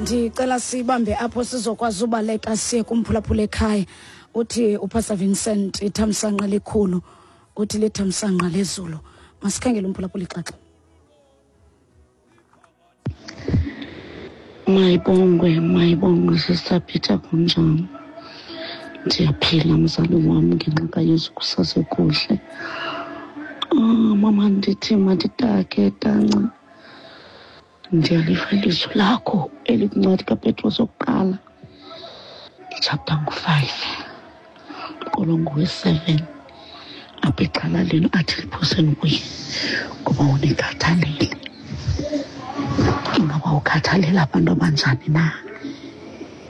Ndicela sibambe apho sizokwazi ubaleka siye kumphulaphula ekhaya. Uthi uPastor Vincent ithamsanqa likhulu, uthi lithamsanqa lezulu. Masikhangele umphulaphula ixaxa. Mayibongwe, mayibongwe Sister Peter, kunjani? Ndiyaphila mzali wam ngenxa kaYesu kusasekuhle. Ah, mama ndithi manditake tanci. Ndiyaliva ilizwi lakho elikwincwadi kaPetros yokuqala, ichapter ngu-5, umqolo ngowe-7, apha ixhala lenu athi liphoseni kuye ngoba unikhathalele. Ingaba ukhathalela abantu abanjani na?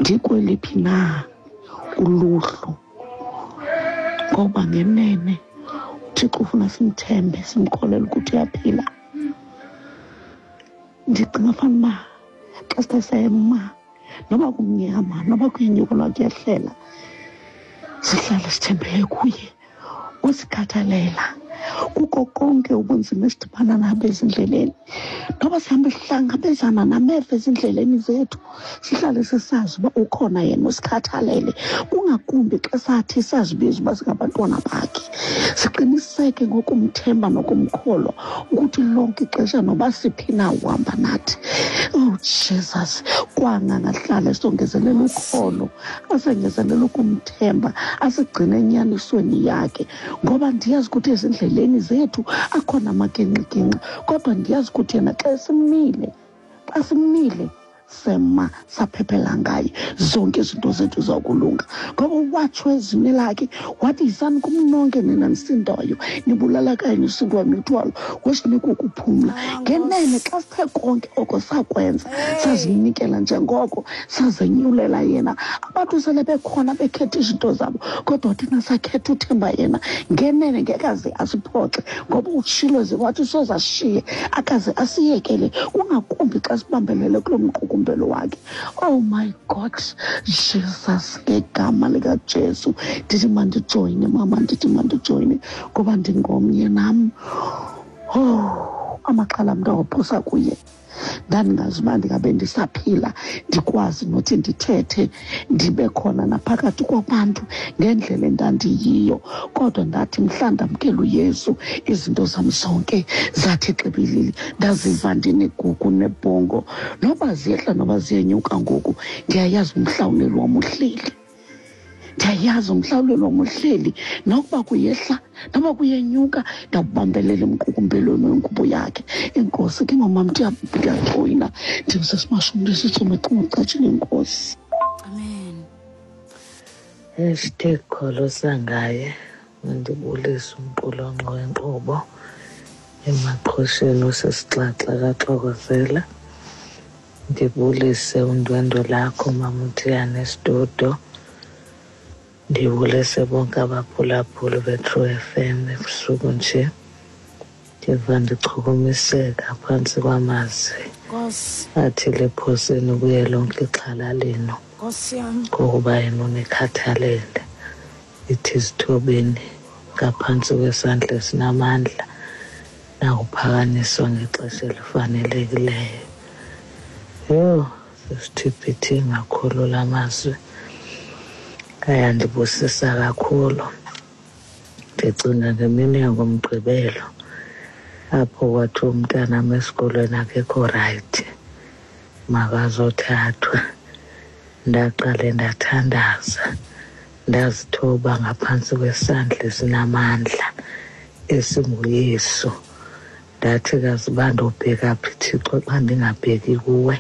Ndikweliphi na uluhlu? Ngoba ngenene uThixo ufuna simthembe, simkholele ukuthi uyaphila. Ndicinga fanuba xa sithe sema, noba kumnyama, noba kuyinyuka noba kuyehlela, sihlale sithembele kuye, usikhathalela kuko konke ubunzima esidibana nabo ezindleleni. Noba sihambe sihlangabezana nameva ezindleleni zethu, sihlale sisazi uba ukhona yena usikhathalele, kungakumbi xa sathi sazibiza uba singabantwana bakhe. Siqiniseke ngokumthemba nokumkholwa ukuthi lonke ixesha noba siphi na uhamba nathi. Oh Jesus, kwanga ngahlala esongezelela ukholo, asengezelela ukumthemba, asigcine enyanisweni yakhe, ngoba ndiyazi ukuthi ezindleleni zethu akhona amagingxigingxi, kodwa ndiyazi ukuthi yena xa esimile, xa simile sema saphephela ngaye, zonke izinto zethu zakulunga. Ngoba watsho ezwini lakhe wathi, yisani kum nonke nina nisindayo, nibulalakayo nisindwa imithwalo, wesinika ukuphumla. Ngenene xa sithe konke oko sakwenza, sazinikela njengoko sazenyulela yena, abantu sele bekhona bekhetha izinto zabo, kodwa thina sakhetha uthemba yena. Ngenene ngekaze asiphoxe, ngoba utshilo ze wathi soze asishiye, akaze asiyekele, kungakumbi xa sibambelele kulo mqukumbelo wakhe. Oh my God, Jesus, ngegama likaJesu ndithi mandijoyine mama, ndithi mandijoyine ngoba ndingomnye nam. Oh, amaxhala mntu awaphosa kuye. Ndandingazi uba ndingabe ndisaphila ndikwazi nothi ndithethe ndibe khona naphakathi kwabantu ngendlela endandiyiyo, kodwa ndathi mhla ndamkela uYesu izinto zam zonke zathi xibilili, ndaziva ndinegugu nebhongo. Noba ziyehla noba ziyenyuka ngoku, ndiyayazi umhlawuleli wam uhleli. Ndiyayazi umhlawuleli wam uhleli, nokuba kuyehla noba kuyenyuka, ndawubambelela emqukumbelweni wengubo yakhe. Inkosi ke mamam, ndiyajoyina, ndimsesimashumi ndisitsome xingucatshile inkosi. Amen. Hashtag kholosa ngaye. Mandibulise umqulonqo wenkqubo emaqhosheni osisixaxa kaXokozela. Ndibulise undwendwe lakho Mamutiyane Sidudo. Ndibulise bonke abaphulaphuli beTrue FM ebusuku nje. Ndiva ndichukumiseka phantsi kwamazwi Nkosi. athi liphoseni kuye lonke ixhala lenu, Nkosi yam. ngokuba yena unikhathalele. Ithi zithobeni ngaphantsi kwesandla esinamandla, nakuphakanyiswa ngexesha elifanelekileyo. Yho, sisithiphithi kakhulu la mazwi, ayandibusisa kakhulu. Ndicinga ngemini yangoMgqibelo apho kwathiwa umntanam esikolweni akekho rayithi, makazothathwa. Ndaqale ndathandaza, ndazithoba ngaphantsi kwesandla esinamandla esinguYesu. Ndathi kazi uba ndobheka phi Thixo xa ndingabheki kuwe,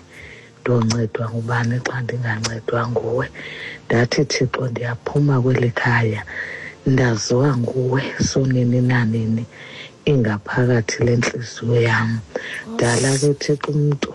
ndoncedwa ngubani xa ndingancedwa nguwe. Ndathi Thixo ndiyaphuma kweli khaya, ndaziwa nguwe sonini nanini, ingaphakathi lentliziyo yam. Dala ke Thixo umntu